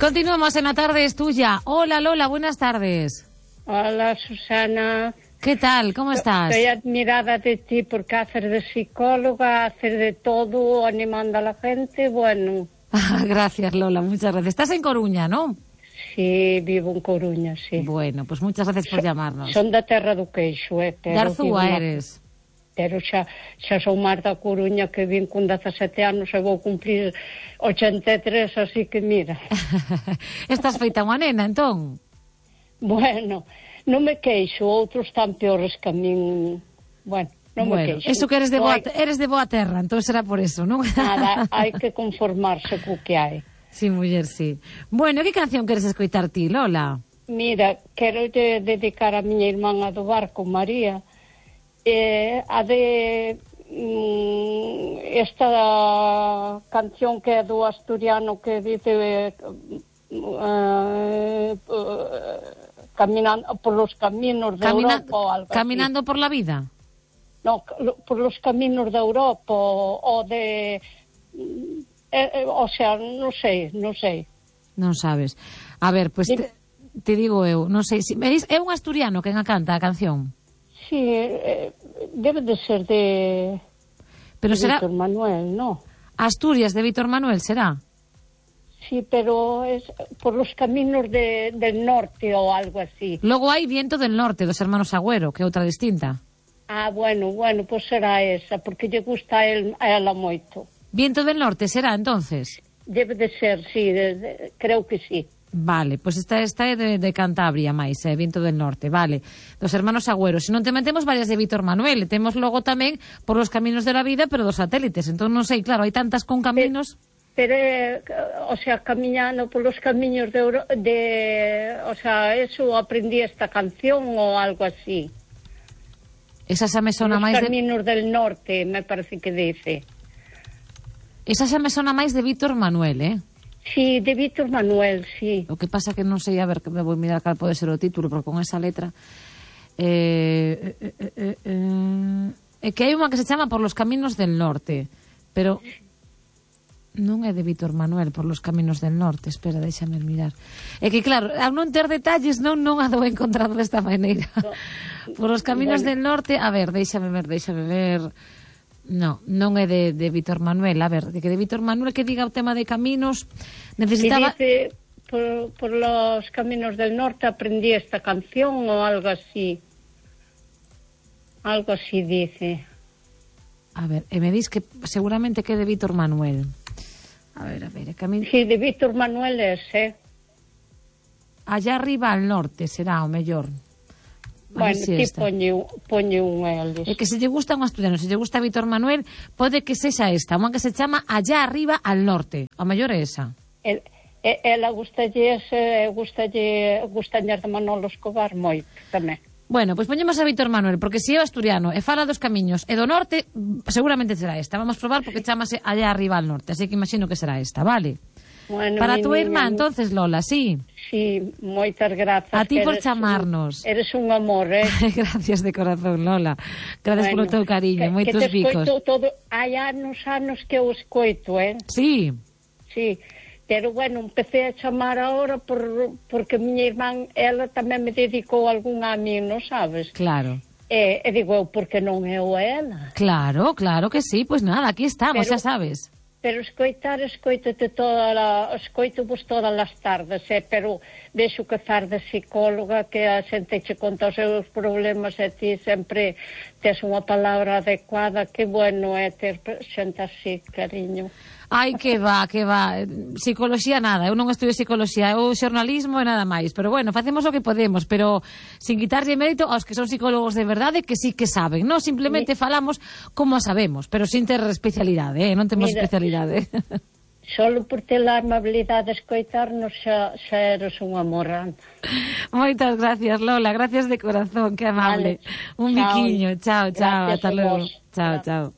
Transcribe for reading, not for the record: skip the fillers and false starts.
Continuamos en La Tarde es Tuya. Hola Lola, buenas tardes. Hola Susana. ¿Qué tal? ¿Cómo estás? Estoy admirada de ti porque haces de psicóloga, haces de todo, animando a la gente, bueno. Gracias Lola, muchas gracias. Estás en Coruña, ¿no? Sí, vivo en Coruña, sí. Bueno, pues muchas gracias por llamarnos. Son da terra do queixo, De Arzúa eres. Pero xa son máis da Coruña, que vin con 17 anos e vou cumplir 83, así que mira. Estás feita unha nena, entón? Bueno, non me queixo, outros tan peores que a min. Bueno, non me queixo. Eso que eres de boa terra, entón será por eso, non? Nada, hai que conformarse co que hai. Sí, muller, sí. Bueno, que canción queres escoitar ti, Lola? Mira, quero dedicar a miña irmán do barco, María, a de esta canción que é do asturiano que dice caminando por los caminos de Europa ou algo Caminando así. por la vida? No, por los caminos de Europa ou de... o sea, non sei. Non sabes. A ver, pois te digo eu, non sei, é un asturiano quen a canta a canción? Sí, debe de ser de Será Víctor Manuel, ¿no? Asturias de Víctor Manuel, será? Sí, pero es por los caminos del norte o algo así. Logo hai Viento del Norte, dos hermanos Agüero, que é outra distinta. Ah, bueno, pues será esa, porque lle gusta a ela moito. Viento del Norte será, entonces? Debe de ser, sí, creo que sí. Vale, pois esta é de Cantabria máis, Viento del Norte, vale. Dos hermanos Agüero. Se non te metemos varias de Víctor Manuel, temos logo tamén Por los caminos de la vida, pero dos satélites. Entón non sei, claro, hai tantas con caminos. Pero o sea, camiñando por los caminos o sea, eso aprendí esta canción o algo así. Esa xa me sona máis Los caminos del norte, me parece que dice. Esa xa me sona máis de Víctor Manuel, Sí, de Víctor Manuel, sí. O que pasa que non sei, a ver, que me vou mirar cal pode ser o título, porque con esa letra é que hai unha que se chama Por los caminos del norte, pero non é de Víctor Manuel, Por los caminos del norte. Espera, déxame mirar. É que claro, ao non ter detalles non a dou encontrado desta maneira. No. Por los caminos del norte, a ver, déxame ver. Non é de Víctor Manuel. A ver, de Víctor Manuel que diga o tema de caminos necesitaba... Que dice, por los caminos del norte aprendí esta canción o algo así. Algo así dice. A ver, me dis que seguramente que é de Víctor Manuel. A ver, Sí, de Víctor Manuel es, Allá arriba al norte será o mellor. Bueno, ti poñe un eles. É que se lle gusta un asturiano, se lle gusta Víctor Manuel, pode que sexa esta, unha que se chama Allá arriba al norte. A mellor é esa. Ela gustalle de Manolo Escobar moito tamén. Bueno, pois poñemos a Víctor Manuel, porque se é o asturiano e fala dos camiños e do norte, seguramente será esta. Vamos probar porque chamase Allá arriba al norte, así que imagino que será esta, vale? Bueno, para a túa irmá, entonces, Lola, sí? Sí, moitas grazas. A ti por chamarnos. Eres un amor, Gracias de corazón, Lola. Gracias polo teu cariño, moitos bicos. Hai anos que eu escoito, Sí? Sí, pero bueno, empecé a chamar ahora porque miña irmán, ela tamén me dedicou algún a min, non sabes? Claro. E digo eu, porque non eu a ela? Claro que sí, pois nada, aquí estamos, xa sabes. Pero escoito-vos todas as tardes, pero vexo que faz de psicóloga, que a xente che conta os seus problemas e ti sempre tes unha palabra adecuada. Que bueno é ter xente así, cariño. Ai, que va. Psicoloxía nada, eu non estudio psicoloxía, eu xornalismo e nada máis. Pero bueno, facemos o que podemos, pero sin quitarlle mérito aos que son psicólogos de verdade, que sí que saben, non? Simplemente falamos como a sabemos, pero sin ter especialidade, non temos especialidade. Solo por ter a amabilidade de escoitarnos xa eres un amor. Moitas gracias, Lola, gracias de corazón, que amable. Un biquiño, chao, ata logo. Chao.